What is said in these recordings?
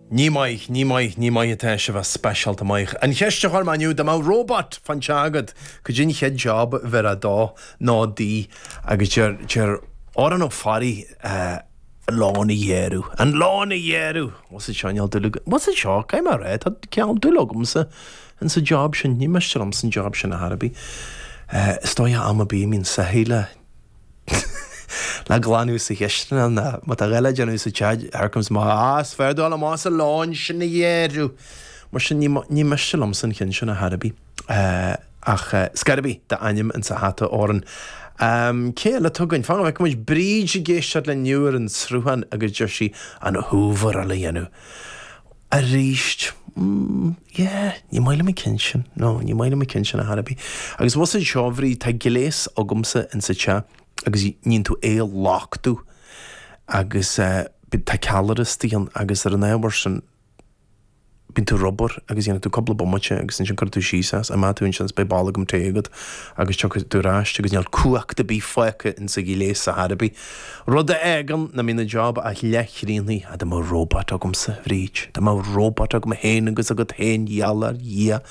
Ní maith, ní maith, ní maith atá sibh ach speisialta maith. An cheist a chuir mé inniu, dá mbeadh robot fán teach agat, cad é an chéad job a bhéarfá dó nó di? Agus deir, deir Odhrán Ó Fearraigh, an lawn a ghearradh, an lawn a ghearradh! What's it seo, níl dúil agam, what's it seo, caithfidh mé a rá, tá cineál dúil agamsa insa job sin, ní miste liomsa an job sin ar chor ar bith. Is dóigh am ar bith a mbíonn soithí le. le glanadh sa chisteanach ná má tá a dhath le déanamh sa teach, here comes ma, ah, is fearr dul amach is an lawn sin a ghearradh. Mar sin, ní, ní miste liomsa an ceann sin ar chor ar bith. Ach scor ar bith d'ainm insa hata, Odhrán. Cé eile atá againn? Fan go bhfeicfidh muid Bríd ag éisteacht linn inniu ar an Sruthán agus deir sí an hooveráil a dhéanamh. Arís, mm, yeah, ní maith liom an ceann sin, no, ní maith liom an ceann sin ar chor ar bith. Agus bhfuil fhios a'd seo, a Bhríd, tá gléas agamsa insa teach agus níonn tú é a luchtú agus eh, tá ceallra istigh ann agus ar an ábhar sin bíonn tú ar obair agus dhéanann tú cúpla bomaite agus ansin cuireann tú síos as, imeoidh tú ansin is beidh bolgam tae agat agus tiocfaidh tú ar ais agus níl cumhacht ar bith fágtha insa ghléas ar chor ar bith. Rud a fhágann nach mbíonn an job ach leathchríochnaithe. Á, dá mbeadh robot agamsa, a Bhríd. Dá mbeadh robot agam féin agus agat féin, gheall ar Dhia,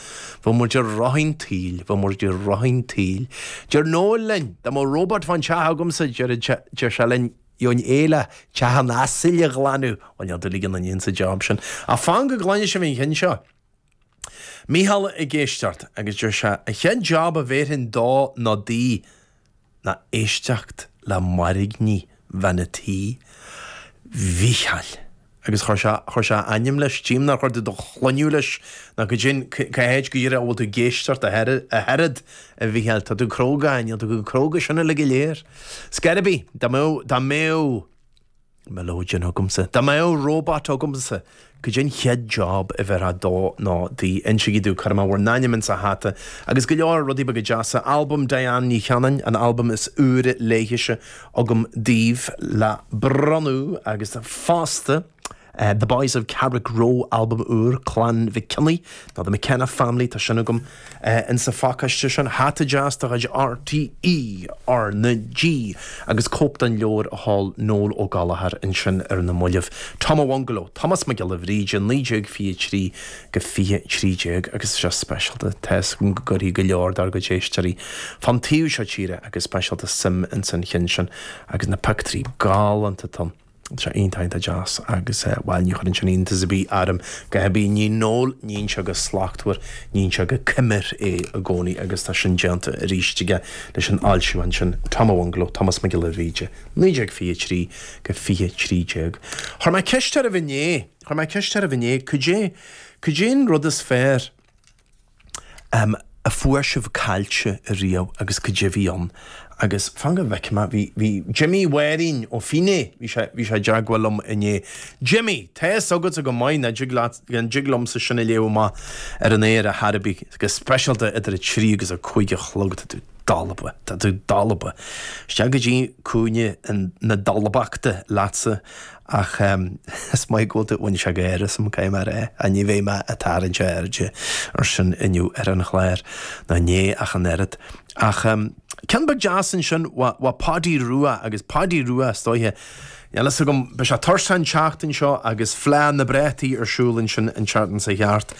bheadh muid i rith an tsaoil, bheadh muid i rith an tsaoil. Deir Noel linn, dá mbeadh robot fán teach agamsa, deir, deir sé linn, gheobhainn é le teach an asail a ghlanadh. Bhuel, níl dúil ag aon duine insa job sin. Ach fan go gcluine sibh an cheann seo. Mícheál ag éisteacht agus deir sé, an chéad job a bhéarfainn dó nó di ná éisteacht le mairgní bhean a' tí. Mhícheáil. Agus chuir sé, chuir sé a ainm leis. Tchím nár chuir tú do shloinneadh leis ná cad sin, cá háit go díreach a bhfuil tú ag éisteacht ach oiread, a Mhícheáil. Tá tú cróga, níl tú chomh cróga sin uilig go léir. Scor ar bith, dá mbeadh, dá mbeadh. Mileoidean agamsa. Dá mbeadh robot agamsa, cad é an chéad job a bhéarfá dó nó di? Insígí domh, cuirfidh mé bhur n-ainm insa hata. Agus go leor rudaí beaga deasa. Albam Diane Ní Chanainn, an albam is úire léithise agam daoibh le bronnadh agus fosta The Boys of Carrickroe, albam úr Clann Mhic Cionnaith, nó The McKenna Family, tá sin agam. Insa phacáiste sin, hata deas de chuid RTÉ R na G agus cóip den leabhar a sheol Noel Ó Gallchóir ansin ar na mallaibh, Tom a' Bhungaló, Tomás Mac Giolla Bhríde, 1923-2013 agus tá sé speisialta, tá fhios agam go gcuirfidh go leor dár gcuid éisteoirí fán taobh seo tíre agus speisialta suim insan chinn sin agus na pictiúirí galánta atá ann. Tá sé iontach iontach deas agus bhuel ní chuireann sin iontas ar bith orm go hibí ní Noel níonn sé go slachtmhar, níonn sé go coimir é i gcónaí agus tá sin déanta arís aige leis an fhoilsiúchán sin Tom a' Bhungaló, Tomás Mac Giolla Bhríde, 1923-2013. Chuir mé ceist oraibh inné, chuir mé ceist oraibh inné, cad é, cad é an rud is fearr a fuair sibh caillte ariamh agus cad é bhí ann agus fan go bhfeicfidh mé, bhí, bhí Jimmy Mháirín ó Fíné, bhí sé, bhí sé i dteagmháil liom inné. Jimmy, tá fhios agatsa go maith nach dtig leat, nach dtig liomsa sin a léamh amach ar an aer ar chor ar bith, go speisialta idir a trí agus a cúig a chlog, tá tú dalba, tá tú dalba. Isteach go dtí cúinne na dalbachta leatsa Ach is maith go bhfuil tú, bhain sé gáire asam, caithfidh mé a rá, ach ní bheidh mé ag tarraingt airde ar sin inniu ar an chlár, ná inné ach an oiread. Ach ceann beag deas ansin, bha Páidí Rua, agus Páidí Rua, is dóiche, níl fhios agam, beidh sé tuirseach an tseachtain seo agus Fleá na bPrátaí ar siúl ansin an tseachtain seo thart.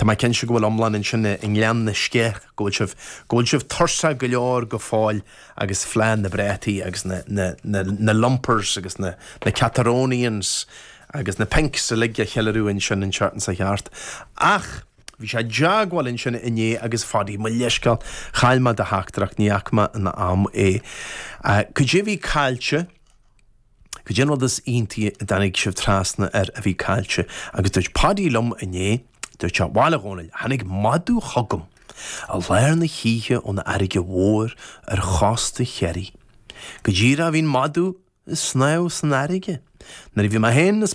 Tá mé cinnte go bhfuil iomlán ansin i nGleann na Sceach, go bhfuil sibh, go bhfuil sibh tuirseach go leor go fóill agus Fleá na bPrátaí agus na, na, na, na Lumpers agus na, na Cataronians agus na Pinks uilig a cheiliúradh ansin an tseachtain seo thart. Ach bhí sé i dteagmháil ansin inné agus Pháidí, mo leithscéal, chaill mé do theachtaireacht, ní fhaca mé in am é. Cad é bhí caillte? Cad é an rud is iontaí a dtáinig sibh trasna air a bhí caillte? Agus dúirt Páidí liom inné, dúirt sé, Bhail a Dhónaill, tháinig madadh chugam i lár na hoíche ón fharraige mhór ar chósta Chiarraí. Go díreach bhí an madadh ag snámh san fharraige nuair a bhí mé féin is.